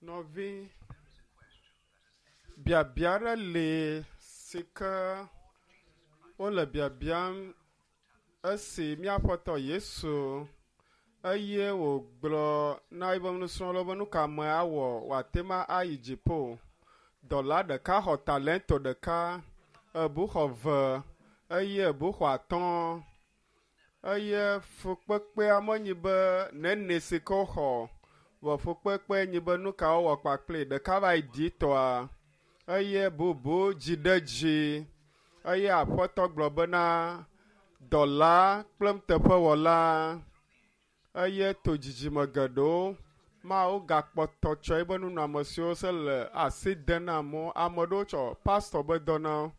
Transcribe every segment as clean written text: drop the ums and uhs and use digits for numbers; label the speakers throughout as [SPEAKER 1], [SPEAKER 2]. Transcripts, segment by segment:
[SPEAKER 1] Nɔvi, biabia aɖe li si ke wole biabiam esi mía Aƒetɔ Yesu eye wògblɔ na eƒe nusrɔ̃lawo be nu ka ame awɔ wòate ŋu ayi dziƒo. Dɔla ɖeka xɔ talento ɖeka, ebu xɔ ve eye ebu xɔ atɔ̃. Eye fukpekpea menyi be nene si ke woxɔ o, vɔ fukpekpe nyi be nu ka wowɔ kpakpli. Ɖeka va yi ɖitɔa eye bubu dzi ɖe dzi eye aƒetɔ gblɔ bena dɔla kple nuteƒewɔla eye to dzidzime geɖewo Mawu gakpɔtɔ tsɔ eƒe nunɔamesiwo se le asi dem na amewo. Ame ɖewo tsɔ pastɔ be dɔ na wo,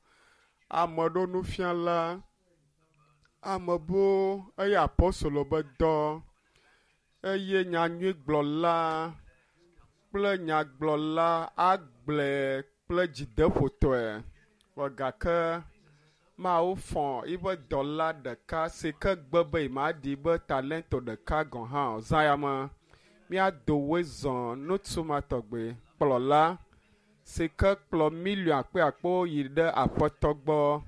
[SPEAKER 1] ame ɖewo nufiala, ame buwo eye apostolo be dɔ eye nyanyuigblɔla kple nyagblɔla agblɔe kple dzideƒotɔe. Vɔ gake Mawu fɔ eƒe dɔla ɖeka si ke gbe be yemaɖi be talento ɖeka gɔ̃ hã o. Zã ya me, míado woe zɔ ŋutsu ma tɔgbi, kplɔla si ke kplɔ miliɔn akpeakpewo yi ɖe Aƒetɔ gbɔ,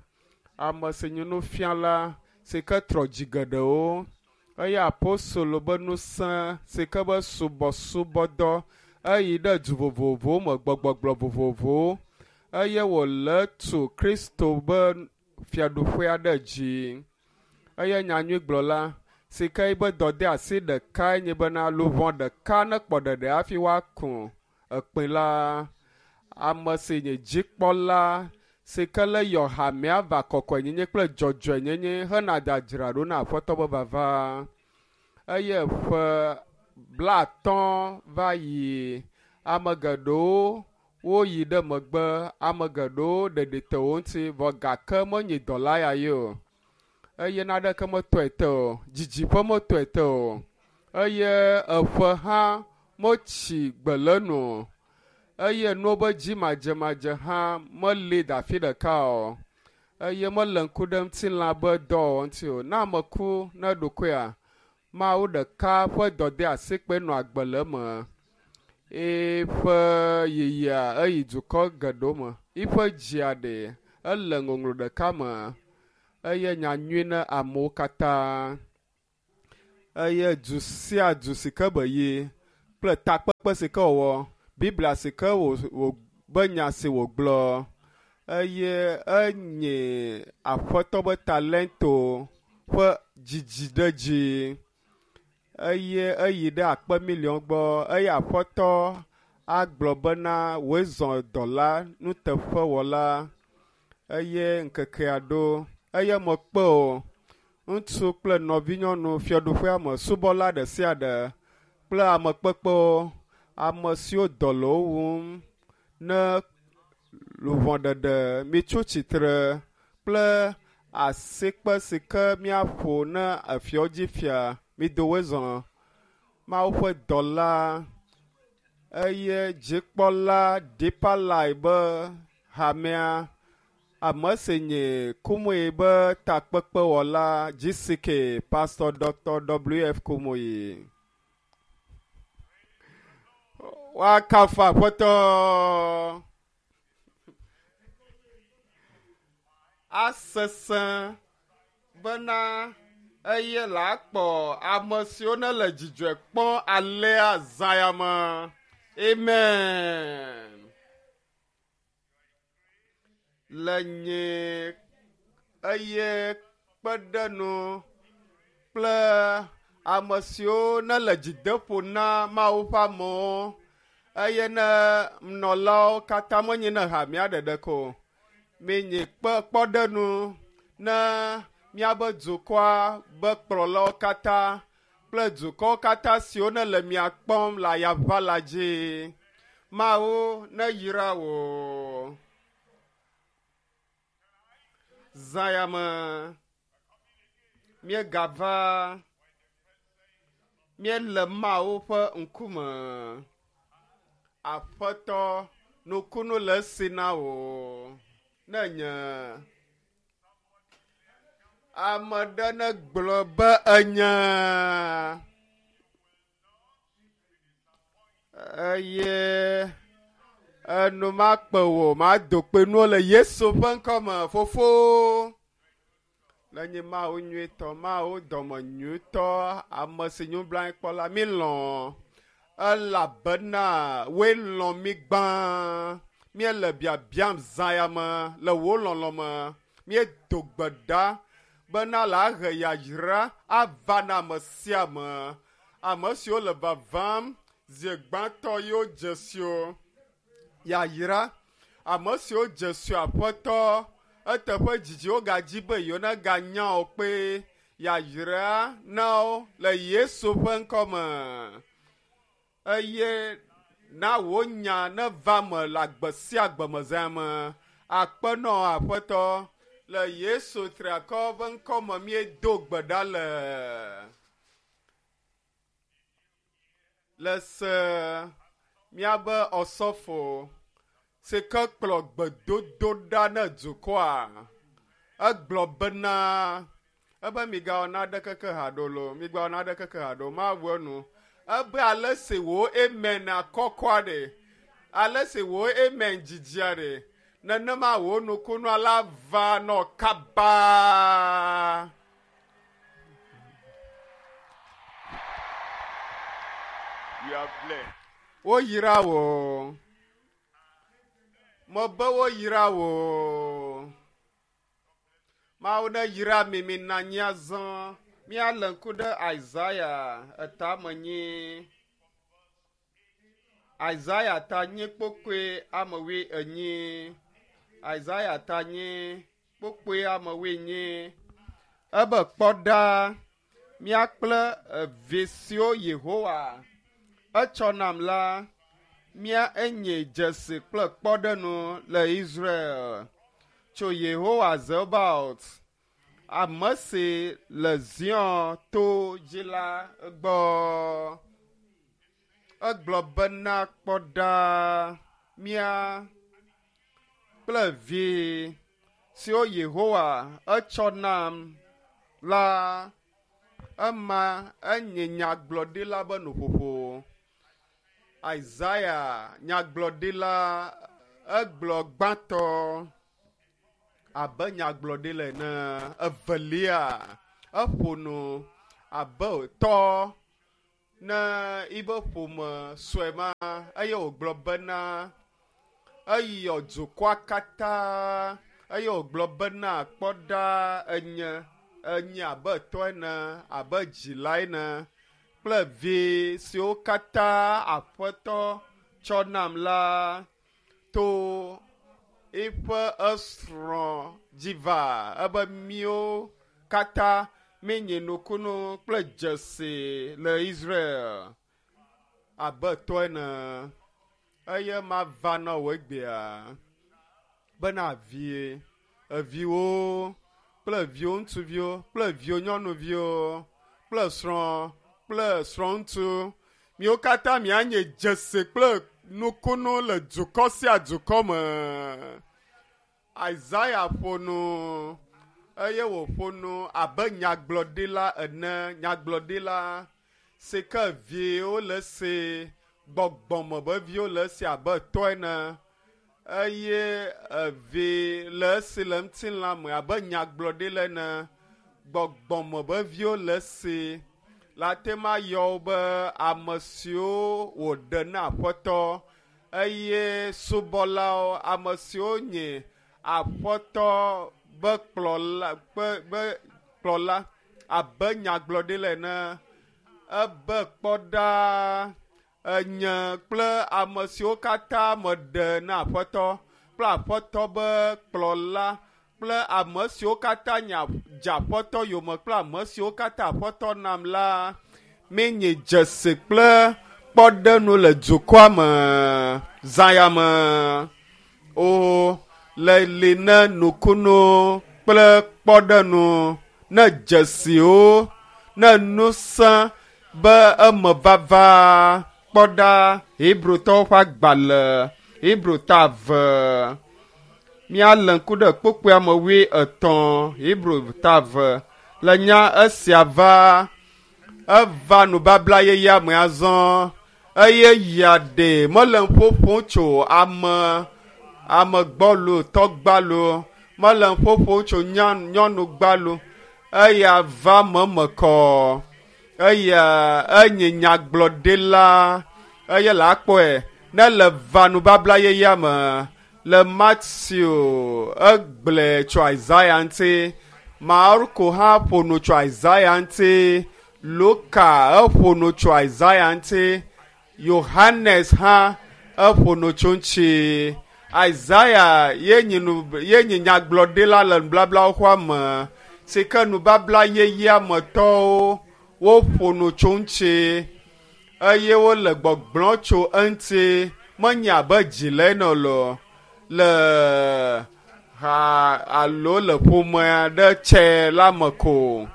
[SPEAKER 1] ame si nye nufiala si ke trɔ dzi geɖewo, eye apostolo be ŋusẽ si ke be subɔsubɔdɔ eyi ɖe du vovovowo me, gbegbɔgblɔ vovovowo eye wòle tu Kristo be fiaɖuƒea ɖe dzi. Eye nyanyuigblɔla si ke yibe dɔdeasi ɖekae nye bena luʋɔ ɖeka nekpɔ ɖeɖe hafi woaku ekpẽ la, ame si nye dzikpɔla si ke le yɔ hamea va kɔkɔenyenye kple dzɔdzɔenyenye hena dzadzraɖo na Aƒetɔ ƒe vava. Eye ƒe blaatɔ̃ va yi, ame geɖewo woyi ɖe megbe, ame geɖewo ɖeɖi te wo ŋuti, vɔ gake menyi dɔla ya ye o. Eye naneke metɔe te o, didiƒe metɔe te o, eye eƒe hã metsi gbe le enu o, eye nuwo be dzi madzemadze hã meli da afi ɖeka o, eye mele ŋku ɖe ŋutilã be dɔwɔwɔ ŋuti o. Ne ame ku ne eɖokuia, Mawu ɖeka ƒe dɔdeasikpe nɔ agbe le eme. Eƒe yiyia eyi dukɔ geɖewo me. Eƒe dzia ɖe ele ŋɔŋlɔ ɖeka me eye nya nyui na amewo katã. Eye du sia du si ke be yi kple takpekpe si ke wòwɔ, Biblia si ke wò wò be nya si wògblɔ eye enye Aƒetɔ be talento ƒe dzidziɖedzi eye eyi ɖe akpe miliɔn gbɔ eye Aƒetɔ agblɔ bena wòe zɔ dɔla nuteƒewɔla eye ŋkekea ɖo eye mekpe o. Ŋutsu kple nɔvinyɔnu fiaɖuƒea me subɔla ɖe sia ɖe kple ame kpekpewo, ame siwo dɔ le wo wum ne luʋɔ ɖeɖe mitso tsitre kple asikpe si ke míaƒo ne efiawo dzi fia, mido woe zɔ. Mawu ƒe dɔla eye dzikpɔla Deeper Life be hamea Ame si nye Kumuyi be takpekpewɔla GCK, Pastor Dr. WF Kumuyi. Woakafu Aƒetɔ. Asesẽ bena eye la kpɔ ame siwo ne le dzidzɔe kpɔm alea zã ya me. Amen. Le nye eye kpe ɖe nu kple ame siwo nele dzideƒo na Mawu ƒe amewo eye ne nɔlawo katã menye ne hamea ɖeɖe ko o. Minyi kpe kpɔɖenu ne míabe dukɔa be kplɔlawo katã kple dukɔwo katã siwo nele mia kpɔm le ayaʋala dzi. Mawu neyra wò. Zã ya me míegava míele Mawu ƒe ŋkume. Aƒetɔ, nukunu le esi na wò. Ne nye ame ɖe negblɔ be enye. Eye enu makpe wò, mado kpe nuwo le Yesu ƒe ŋkɔme, Fofo. Le nye Mawu nyuitɔ, Mawu dɔme nyuitɔ, ame si nublanuikpɔla, mi lɔ̃ elabena woe lɔ̃ mi gbã. Míele biabiam zã ya me le wò lɔlɔ̃ me. Míedo gbe ɖa bena le ahe yayra ava na ame sia ame. Ame siwo le vavam zi gbãtɔ yewo dze si wo yayra. Ame siwo dze si Aƒetɔ eteƒe dzidzi wogadzi be yewo neganya wo kpe yayra na wo le Yesu ƒe ŋkɔme. Eye na wò nya neva me le agbe sia agbe me zã me. Akpe nɔ Aƒetɔ le Yesu triakɔ ƒe ŋkɔme míedo gbe ɖa le. Le se míabe ɔsɔfo si ke kplɔ gbedodo ɖa ne dukɔa, egblɔ bena ebe migawɔ naɖeke ke haɖo lo, migawɔ naɖeke ke haɖo, mawu enu. Ebe ale si wò amen akɔkɔa ɖe, ale si wò amen dzidzia ɖe, nenema wò nukunua la va nɔ kaba.
[SPEAKER 2] You are blessed.
[SPEAKER 1] Woyra wò. Mebe woyra wò. Mawu ne yra mi mi na anyi azɔ. Míalé ŋku ɖe Isaiah etame nyi. Isaiah ta nyi kpokpoe ame wui enyi. Isaiah ta nyi kpokpoe ame wui enyi. Ebe kpɔ ɖa mía kple evi siwo Yehowa etsɔ nam la, mía enye dzesi kple kpɔɖeŋu le Israel tso Yehowa Zebaot, ame si le Zion to dzi la gbɔ. Egblɔ bena kpɔ ɖa mía kple vi siwo Yehowa etsɔ nam la, ema enye nyagblɔɖila be nuƒoƒo. Isaiah nyagblɔɖila egblɔ gbãtɔ abe nyagblɔɖila ene. Evelia eƒo nu abe tɔ ne yibe ƒome sue ma eye wògblɔ bena eyɔ dukɔa katã eye wògblɔ bena kpɔ ɖa enye enye abe tɔ ene abe dzila ene kple vi siwo katã Aƒetɔ tsɔ nam la to eƒe esrɔ̃ dzi va ebe míwo katã míenye nukunu kple dzesi le Israel abe tɔ ene eye mava na wò egbea bena vie eviwo kple viwo ŋutsuviwo kple viwo nyɔnuviwo kple srɔ̃ kple srɔ̃ŋutsu miwo katã mianye dzesi kple nukunu le dukɔ sia dukɔ me. Isaiah ƒo nu eye wòƒo nu abe nyagblɔɖila ene, nyagblɔɖila si ke viwo le esi, gbɔgbɔme be viwo le esi abe tɔ ene eye evi le esi le ŋutilã me abe nyagblɔɖila ene, gbɔgbɔme be viwo le esi. Le ate ŋu ayɔ wo be ame siwo wòɖe na Aƒetɔ eye subɔlawo, ame siwo nye Aƒetɔ be kplɔla be be kplɔla abe nyagblɔɖila ene. Ebe kpɔ ɖa enye kple ame siwo katã meɖe na Aƒetɔ kple Aƒetɔ be kplɔla kple ame siwo katã nya dze Aƒetɔ yome kple ame siwo katã Aƒetɔ nam la, míenye dzesi kple kpɔɖeŋu le dukɔa me zã ya me. O le li ne nukunu kple kpɔɖeŋu ne dzesiwo ne ŋusẽ be eme vava kpɔ ɖa Hebrewtɔwo ƒe agbalẽ Hebrew ta eve. Míalé ŋku ɖe kpukpui ame wui etɔ̃ Hebrew ta eve le nya esia va eva nubabla yeyea me azɔ. Eye ya ɖe mele ƒoƒom tso ame ame gbɔlo tɔgbalo mele ƒoƒom tso nyɔnu gbalo eya va meme kɔ eya enye nyagblɔɖila eye le akpɔe ne le va nubabla yeyea me le Matthew egblɔe tso Isaiah ŋuti Marko hã ƒo nu tso Isaiah ŋuti Luka eƒo nu tso Isaiah ŋuti Yohanes hã eƒo nu tso ŋuti Isaiah ye nyi nu ye nyi nyagblɔɖila le nubablawo xɔa me si ke nubabla yeyea me tɔwo woƒo nu tso ŋuti eye wole gbɔgblɔ tso eŋuti menye abe dzi le ene o le ha alo le ƒome aɖe tsɛ la me ko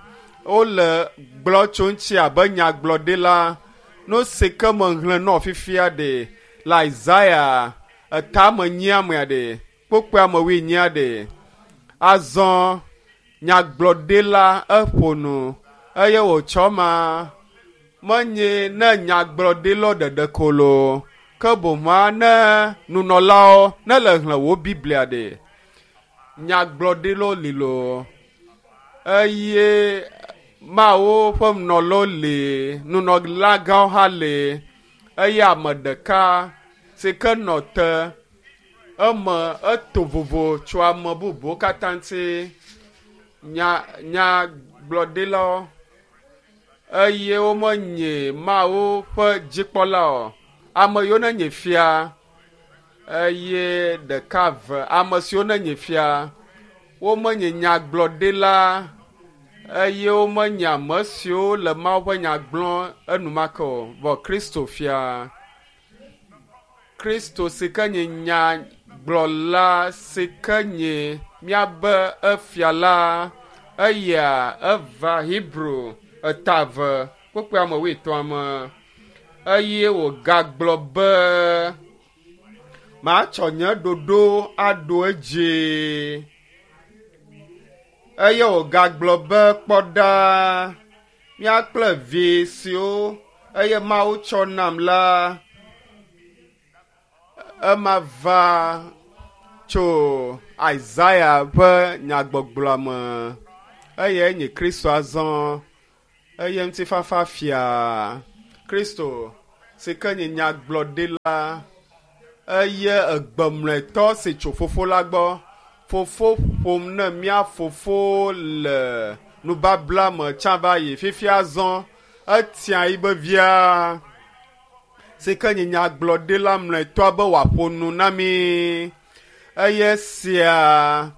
[SPEAKER 1] wole gblɔ tso ŋuti abe nyagblɔɖila nu si ke mexlẽ nɔ fifia ɖe le Isaiah etame nyiamea ɖe kpokpoa me wuinyia ɖe azɔ nyagblɔɖila eƒo nu eye wòtsɔ ma menye ne nyagblɔɖilawo ɖeɖe ko loo ke boŋua ne nunɔlawo ne le xlẽ wo Biblia ɖe nyagblɔɖilawo li loo eye Mawu ƒe nunɔlawo li nunɔlagãwo hã li eye ame ɖeka si ke nɔ te eme eto vovo tso ame bubuwo katã ŋuti nya nyagblɔɖilawo eye womenye Mawu ƒe dzikpɔla o. Ame yiwo nenye fia eye ɖeka ve ame siwo nenye fia womenye nyagblɔɖila eye womenye ame siwo le Mawu ƒe nya gblɔm enumake o. Vɔ Kristo fia. Kristo si ke nye nyagblɔla si ke nye míabe efia la eya eva Hebrew eta eve kpukpui ame wuietɔ̃a me eye wògagblɔ be matsɔ nye ɖoɖo aɖo edzi eye wògagblɔ be kpɔ ɖa mía kple vi siwo eye Mawu tsɔ nam la ema va tso Isaiah ƒe nyagbɔgblɔa me eye nye Kristo azɔ eye ŋutifafa fia Kristo si ke nye nyagblɔɖila eye egbemlɔetɔ si tso fofo la gbɔ fofo ƒom ne mía fofo le nubabla me tsã va yi fifia zɔ etia yi be via si ke nye nyagblɔɖila mlɔetɔa be wòaƒo nu na mí eye sia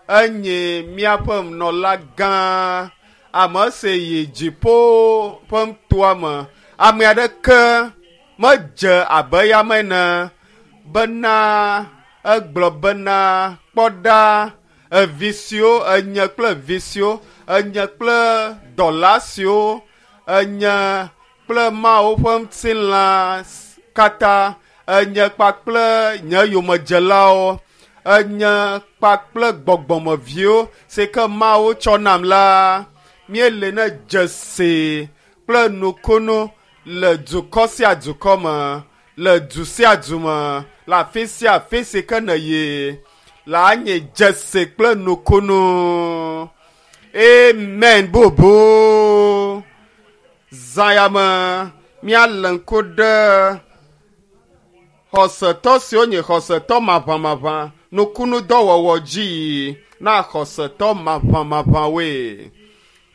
[SPEAKER 1] enye míaƒe nunɔla gã ame si yi dziƒo ƒe nutoa me ame aɖeke medze abe eyama ene bena egblɔ bena kpɔ ɖa evi siwo enye kple vi siwo enye kple dɔla siwo enye kple Mawu ƒe ŋutilã katã enye kpakple nye yomedzelawo enye kpakple gbɔgbɔmeviwo si ke Mawu tsɔ nam la míele ne dzesi kple nukunu le dukɔ sia dukɔ me le du sia du me le afi sia afi si ke nèyi la anye dzesi kple nukunu amen bubu zã ya me míalé ŋku ɖe xɔsetɔ siwo nye xɔsetɔ maʋamaʋã nukunudɔwɔwɔ dzi na xɔsetɔ maʋamaʋãwoe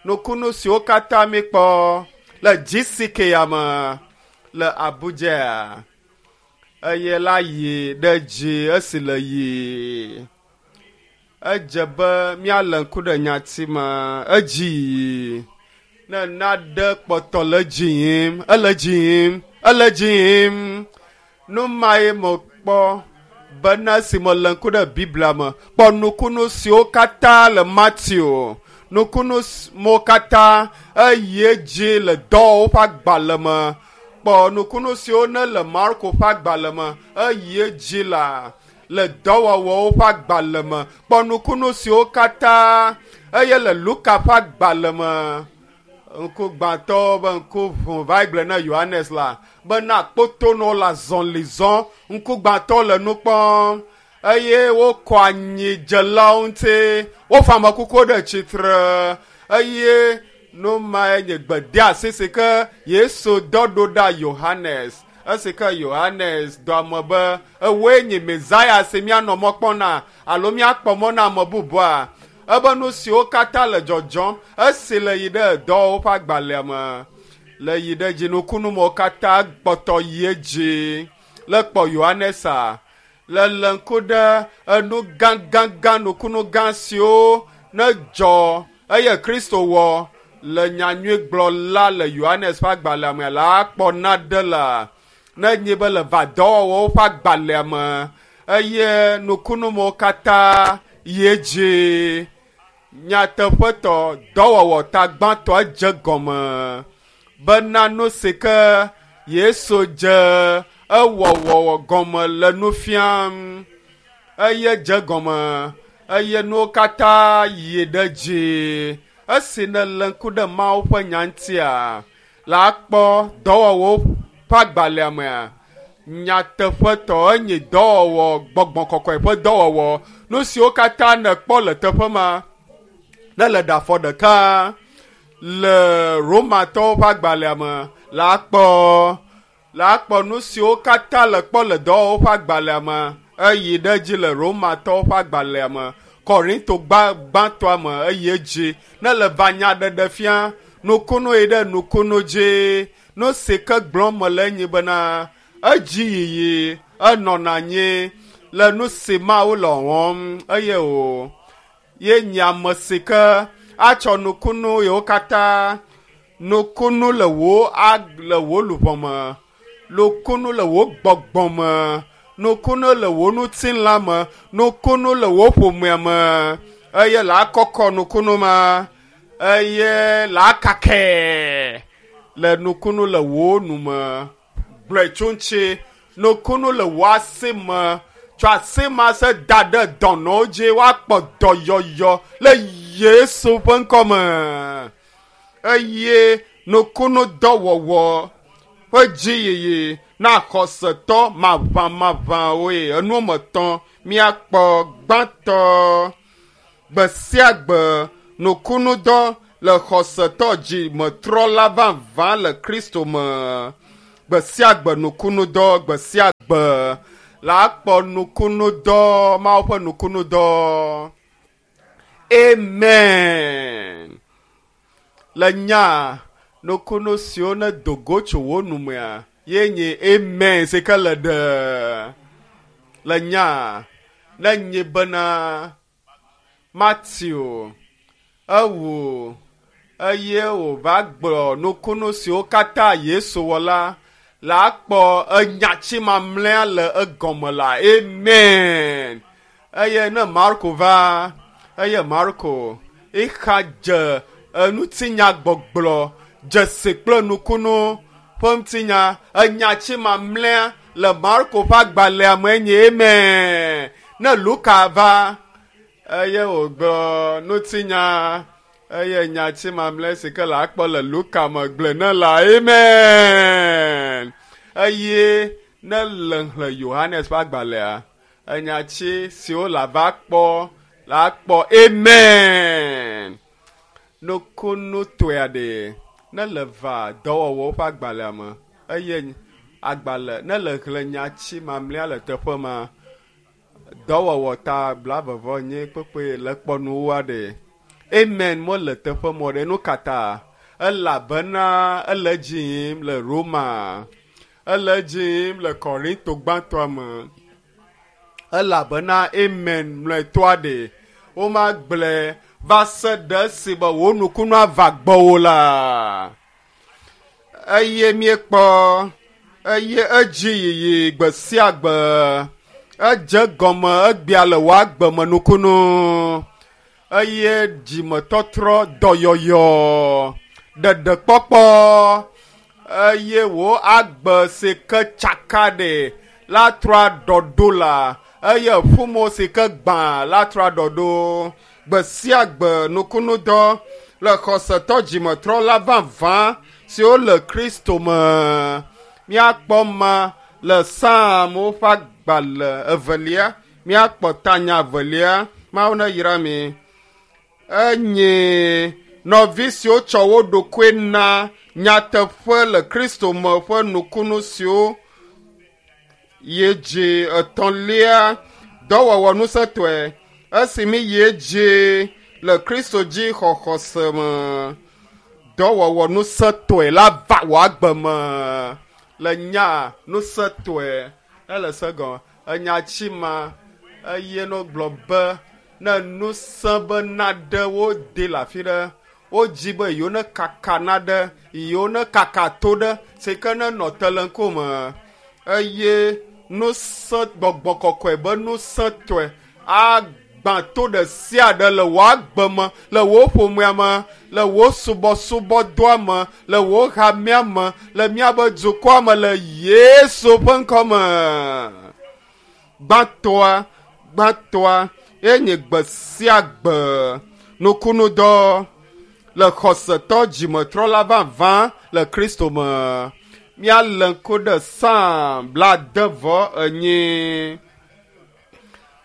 [SPEAKER 1] nukunu siwo katã míkpɔ le GCK ya me le Abuja eye la yi ɖe dzi esi le yi edze be míalé ŋku ɖe nyati me edzi yi ne naɖe kpɔtɔ le dzi yim ele dzi yim ele dzi yim nu mae mekpɔ bena esi mele ŋku ɖe Biblia me kpɔ nukunu siwo katã le Matthew nukunu siwo katã eyi edzi le dɔwɔwɔwo ƒe agbalẽ me kpɔ nukunu siwo ne le Marko ƒe agbalẽ me eyi edzi la le dɔwɔwɔwo ƒe agbalẽ me kpɔ nukunu siwo katã eye le Luka ƒe agbalẽ me. Ŋkugbãtɔwo be ŋku ʋu va gblɔ na Yohanes la bena kpotonɔwo le azɔli zɔm, ŋkugbãtɔwo le nu kpɔm eye wokɔ anyidzelawo ŋuti, wofa amekukuwo ɖe tsitre eye nu mae nye gbedeasi si ke Yesu dɔ ɖo ɖa Yohanes. Esi ke Yohanes dɔ ame be ewoe nye Mesaya si míanɔ mɔ kpɔm na alo míakpɔ mɔ na ame bubua. Ebe nu siwo katã le dzɔdzɔm esi le yi ɖe dɔwɔwɔ ƒe agbalẽa me le yi ɖe dzinukunumewo katã kpɔtɔ yi edzi. Le kpɔ Yohanesa le le ŋku ɖe enu gãgãgã nukunu gã siwo ne dzɔ eye Kristo wɔ le nyanyuigblɔla le Yohanes ƒe agbalẽa me la akpɔ naɖe la ne nyi be le va dɔwɔwɔwo ƒe agbalẽa me eye nukunumewo katã yi edzi. Nyateƒetɔ dɔwɔwɔ ta gbãtɔ dze gɔme bena nu si ke Yesu dze ewɔwɔ gɔme le nu fiam eye dze gɔme eye nuwo katã yi ɖe dzi. Esi nèle ŋku ɖe Mawu ƒe nya ŋutia, la akpɔ dɔwɔwɔwo ƒe agbalẽa mea, nyateƒetɔ enye dɔwɔwɔ gbɔgbɔ kɔkɔe ƒe dɔwɔwɔ. Nu siwo katã nèkpɔ le teƒe ma, ne le ɖe afɔ ɖeka le Romatɔwo ƒe agbalẽa me la akpɔ la akpɔ nu siwo katã le kpɔ le dɔwɔwɔ ƒe agbalẽa me eyi ɖe edzi le Romatɔwo ƒe agbalẽa me Korinto gbãtɔa me eyi edzi ne le va nya ɖeɖe fia nukunu yi ɖe nukunu dzi nu si ke gblɔm mele enyi bena edzi yiyi enɔna anyi le nu si Mawu le wɔm eye o ye nye ame si ke atsɔ nukunu yiwo katã nukunu le wò le wò luʋɔ me nukunu le wò gbɔgbɔ me nukunu le wò ŋutilã me nukunu le wò ƒomea me eye la kɔkɔ nukunu ma eye la kakɛ le nukunu le wò nu me gblɔe tso ŋuti nukunu le wò asi me tsɔ asi ma se da ɖe dɔnɔwo dzi woakpɔ dɔyɔyɔ le Yesu ƒe ŋkɔ me eye nukunu dɔwɔwɔ ƒe dziyiyi na xɔsetɔ maʋamaʋãwoe enu me tɔ̃ míakpɔ gbãtɔ gbe sia gbe nukunudɔ le xɔsetɔ dzimetrɔla vavã le Kristo me gbe sia gbe nukunudɔ gbe sia gbe la akpɔ nukunudɔ Mawu ƒe nukunudɔ. Amen. Le nya nukunu siwo ne do go tso wo nu mea ye nye amen si ke le ɖe le nya ne nye bena Matthew ewu eye wòva gblɔ nukunu siwo katã Yesu wɔ la la akpɔ enyatsi mamlɛa le egɔme la amen. Eye ne Marko va eye Marko ixa dze enutinya gbɔgblɔ dzesi kple nukunu ƒe ŋutinya enyatsi mamlɛa le Marko ƒe agbalẽa me nye amen. Ne Luka va eye wògblɔ ŋutinya eye nyatsi mamlɛ si ke le akpɔ le Luka me gblɔe ne la amen. Eye ne le xlẽ Yohanes ƒe agbalẽa enyatsi siwo le ava kpɔ la akpɔ amen. Nukunu tɔe ɖe ne le va dɔwɔwɔwo ƒe agbalẽa me eye agbalẽ ne le xlẽ nyatsi mamlɛa le teƒe ma dɔwɔwɔ ta blavevɔ nye kpekpe le kpɔ nuwoa ɖe amen mele teƒe mɔ ɖe nu kata elabena ele dzi yim le Roma ele dzi yim le Korinto gbãtɔa me elabena amen mlɔetɔa ɖe womagblɔe va se ɖe esi be wò nukunu ava gbɔwò la eye míekpɔ eye edzi yiyi gbe sia gbe edze gɔme egbea le wò agbe me nukunu eye dzimetɔtrɔ dɔyɔyɔ ɖeɖekpɔkpɔ eye wò agbe si ke tsaka ɖe la trɔ aɖɔɖo la eye ƒumo si ke gbã la trɔ aɖɔɖo gbe sia gbe nukunudɔ le xɔsetɔ dzimetrɔla vavã siwo le Kristo me. Míakpɔ ma le Psalmwo ƒe agbalẽ evelia, míakpɔ tanya evelia. Mawu neyra mi. Enye nɔvi siwo tsɔ wo ɖokui na nyateƒe le Kristo me ƒe nukunu siwo yi dzi etɔ̃lia dɔwɔwɔ ŋusẽtɔe esi mi yi edzi le Kristo dzi xɔxɔse me. Dɔwɔwɔ ŋusẽtɔe la va wò agbe me le nya ŋusẽtɔe ele se gɔme enya tsi ma eye no gblɔ be ne ŋusẽ be naɖe wode le afi ɖe wodzi be yewo ne kaka naɖe yewo ne kaka to ɖe si ke ne nɔ te le ŋkume eye ŋusẽ gbɔgbɔ kɔkɔe be ŋusẽtɔe agbã to ɖe sia ɖe le wò agbe me le wò ƒomea me le wò subɔsubɔdɔa me le wò hamea me le míaƒe dukɔa me le Yesu ƒe ŋkɔ me. Gbãtɔa gbãtɔa enye gbe sia gbe nukunudɔ le xɔsetɔ dzimetrɔla vavã le Kristo me. Míalé ŋku ɖe Psalm 71.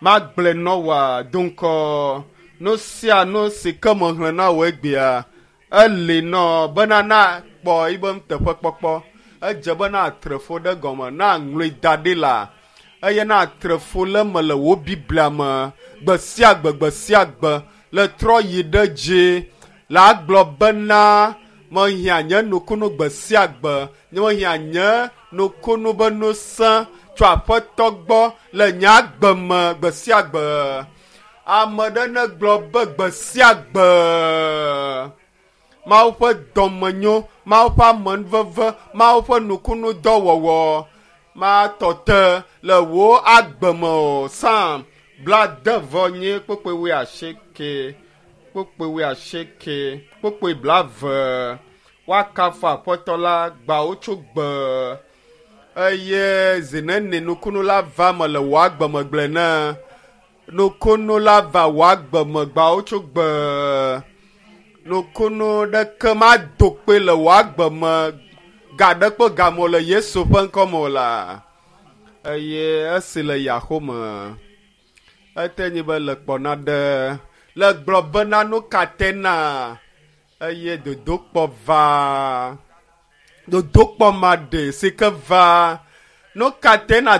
[SPEAKER 1] Magblɔe nɔ wòa do ŋkɔ. Nu sia nu si ke mexlẽ na wò egbea, eli nɔ bena nakpɔ yibe nuteƒekpɔkpɔ. Edze be natre fo ɖe gɔme, naŋlɔe da ɖi la eye natre fo le eme le wò Biblia me gbe sia gbe gbe sia gbe le trɔ yi ɖe dzi le agblɔ bena mehiã nye nukunu gbe sia gbe, mehiã nye nukunu be ŋusẽ tso Aƒetɔ gbɔ le nye agbe me gbe sia gbe. Ame ɖe negblɔ be gbe sia gbe Mawu ƒe dɔmenyo, Mawu ƒe amenuveve, Mawu ƒe nukunudɔwɔwɔ matɔ te le wò agbe me o. Psalm 79 kpukpui 80 kpukpui 80 kpukpui 20. Woakafu Aƒetɔ la gbawo tso gbe eye zi neni nukunu la va me le wò agbe me gblɔe ne nukunu la va wò agbe me gbawo tso gbe nukunu ɖeke mado kpe le wò agbe me ga ɖe kple game o le Yesu ƒe ŋkɔ me o la. Eye esi le yaxome ete nyi be le kpɔ naɖe le gblɔ bena nu ka te na eye dodokpɔ va dodokpɔ ma ɖe si ke va nu ka te na.